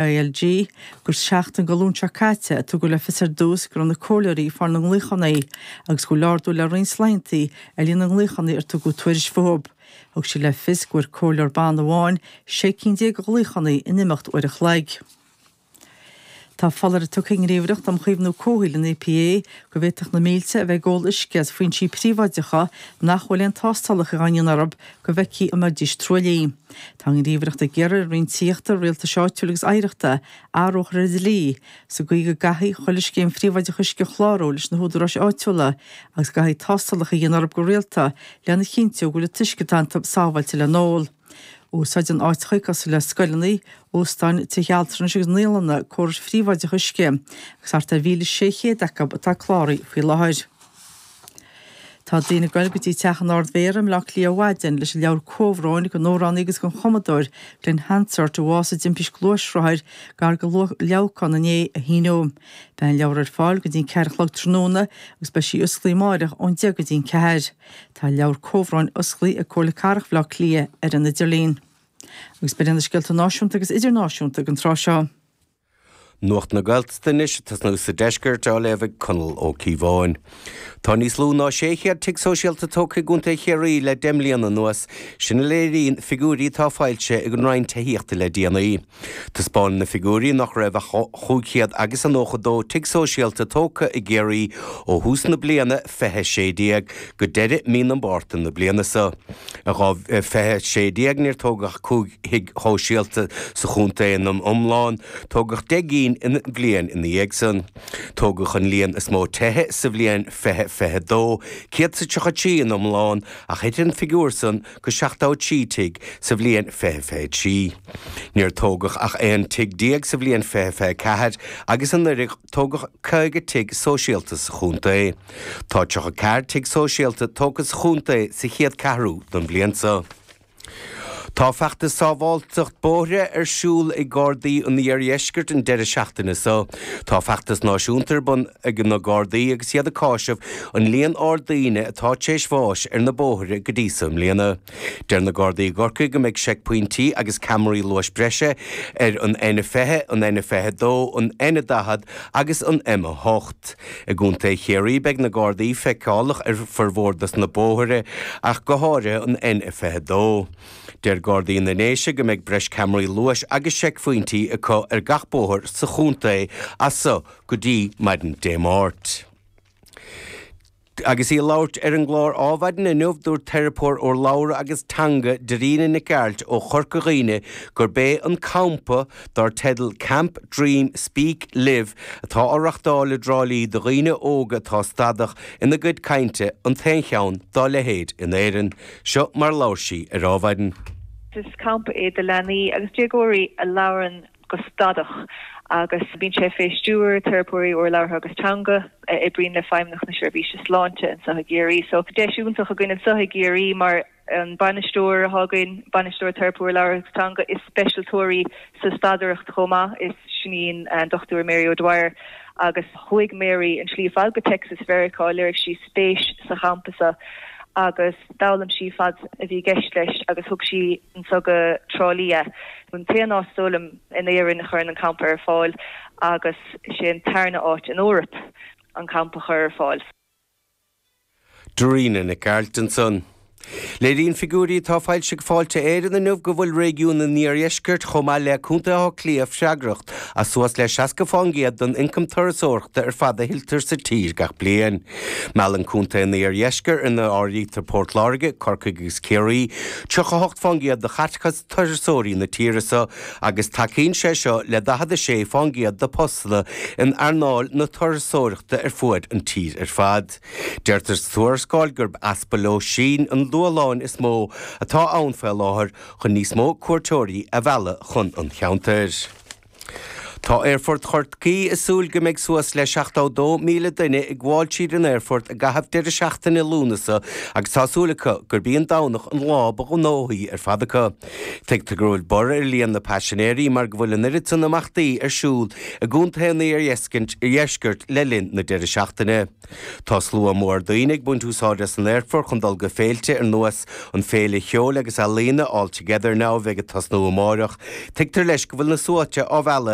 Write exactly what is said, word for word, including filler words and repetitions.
I L G gur seachtain go Luan seo caite a tugadh le fios ar dtús go raibh na comhairleoirí ag fáil na nglaochanna agus go bhfuil ardú le roinnt laethanta ar líon na nglaochanna ar tugadh tuairisc fúthu. Thug sí le fios go bhfuair comhairleoir ban amháin sé cinn déag de ghlaochanna in imeacht uair a chloig. Tá foláireamh tugtha ag an nGníomhaireacht um Chaomhnú Comhshaoil, an E P A, go bhféadfadh na mílte a bheith ag ól uisce as foinsí príobháideacha nach bhfuil aon tástálacha á ndéanamh orthu go bhfeicfí an mbeidís truaillithe. Tá an Ghníomhaireacht ag iarraidh ar an Roinn Tithíochta, Rialtais Áitiúil agus Oidhreachta athrú a chur ar an dlí sa gcaoi go gcaithfidh chuile scéim phríobháideach uisce clárú leis na húdaráis áitiúla agus go gcaithfidh tástálacha a dhéanamh orthu go rialta lena chinntiú go bhfuil an t-uisce atá iontu sábháilte le n-ól. Úsáideann áiteacha cosúil le scoileanna, óstáin, tithe altranais agus naíolanna córais phríobháideach uisce, agus thart ar mhíle sé chéad acu atá cláraithe faoi láthair. Tá daoine ag goil go dtí teach an Ard-Mhéara i mBleá Cliath ar maidin leis an leabhar comhbhróin don amhránaí agus don chumadóir Glen Hansard a bhásaigh i dtimpiste gluaisrothair gar do Leamhcán inné a shíniú. Beidh an leabhar ar fáil go dtí ceathair a chlog tráthnóna agus beidh sí oscailte amárach ón deich go dtí an ceathair. Tá leabhar comhbhróin oscailte ag Comhairle Cathrach Bhaile Átha Cliath ar an idirlíon. Agus b'in na scéalta náisiúnta agus idirnáisiúnta don tráth seo. Nuacht na Gaeltachta anois tosnú sa deisceart, á léamh ag Conall Ó Cíobháin. Tá níos lú ná sé chéad tigh sóisialta tógtha i gContae Chiarraí le deich mbliana anuas, sin a léiríonn figiúirí atá foilsithe ag an Roinn Tithíochta le déanaí. Taispeánann na figiúirí nach raibh ach cúig chéad agus a nócha dó tigh sóisialta tógtha i gCiarraí ó thús na bliana fiche sé déag go deireadh mí na Márta na bliana seo. I dhá fiche sé déag níor tógadh cúig thigh shóisialta sa chontae in iomlán, tógadh deich gcinn in bliain ina dhiaidh san. Tógadh an líon is mó tithe sa bhliain fiche fiche dó, céad is tríocha trí in iomlán, ach thit an figiúr san go seachtó trí tigh sa bhliain fiche fiche trí. Níor tógadh ach aon tigh déag sa bhliain fiche fiche ceathair agus anuraidh tógadh caoga tigh sóisialta sa chontae. Tá tríocha ceathair tigh sóisialta tógtha sa chontae sa chéad ceathrú den bhliain seo. Tá feachtas sábháilteacht bóithre ar siúl ag Gardaí an Iardheiscirt an deireadh seachtaine seo. Tá feachtas náisiúnta ar bun ag na Gardaí agus iad ag cáiseamh an líon ard daoine atá tar éis bháis ar na bóithre go dtí seo i mbliana. Deir na Gardaí i gCorcaigh go mbeidh seicphointí agus ceamaraí luais breise ar an N fiche, an N fiche dó, an N daichead agus an M a hocht. I gContae Chiarraí beidh na Gardaí feiceálach ar formhór dos na bóithre, ach go háirithe an N fiche dó. Deir Gardaí na nDéise go mbeidh breis ceamaraí luais agus seicphointí acu ar gach bóthar sa chontae as seo go dtí maidin Dé Máirt. Agus í ag labhairt ar an gclár Adhmhaidin inniu, dúirt teiripeoir urlabhra agus teanga Dairena Nic Gearailt ó Chorca Dhuibhne gurb é an campa dar teideal Camp Dream Speak Live atá á reáchtáil i dTrá Lí do dhaoine óga atá stadach ina gcuid cainte an t-aon cheann dá leithéid in Éirinn. Seo mar labhair sí ar Adhmhaidin. Is campa é do leanaí agus déagóirí a labhrann go stadach, agus bíonn sé fé stiúir teiripeoirí urlabhra agus teanga a oibríonn le Feidhmeannacht na Seirbhíse Sláinte anseo i gCiarraí. So deis iontach againn anseo i gCiarraí, mar an bainisteoir atá againn, bainisteoir teiripeoir labhartha agus teanga, is speisialtóir í sa stadaireacht chomh maith, is sin í an Dochtúir Mary O'Dwyer, agus chuaigh Mary an slí fad go Texas Mheiriceá, léirigh sí spéis sa champa seo agus d'fhoghlaim sí fad a bhí i gceist leis agus thug sí anseo go Trá Lí é. An t-aon áit dólim in Éirinn a chuireann an campa ar fáil, agus sé an tarna áit in Eoraip an campa a chur ar fáil. Dairena Nic Gearailt ansan. Léiríonn figiúirí atá foilsithe ag Fáilte Éireann inniu go bhfuil réigiún an Iardheiscirt chomh maith le Contae Átha Cliath freagrach as suas le seasca faoin gcéad den ioncam turasóireachta ar fad a thuilltear sa tír gach bliain. Meallann Contae an Iardheiscirt, ina áirítear Port Láirge, Corcaigh agus Ciarraí, tríocha hocht faoin gcéad de chaiteachas turasóirí na tíre seo, agus tacaíonn sé seo le daichead a sé faoin gcéad de postanna in earnáil na turasóireachta ar fuaid an tír ar fad. Deirtear sa tuarascáil gurb easpa lóistín an dúshlán is mó atá ann faoi láthair chun níos mó cuairteoirí a mhealladh chun an cheantair. Tá Tá Aerfort Chorcaí ag súil go mbeidh suas le seachtó dó míle duine ag gabháil tríd an aerfort i gcaitheamh deireadh seachtaine Lúnasa agus tá súil acu gurb í an Domhnach an lá ba ghnóthaí ar fad acu. Tuigtear go bhfuil borradh ar líon na paisinéirí mar go bhfuil an oiread san imeachtaí ar siúl i gcontaetha an iardheiscirt le linn na deireadh seachtaine. Tá slua mór daoine ag baint úsáid as an aerfort chun dul go féilte ar nós an féile cheoil agus ealaíona All Together Now a bheidh ag tosnú amárach. Tuigtear leis go bhfuil na sluaite á mhealladh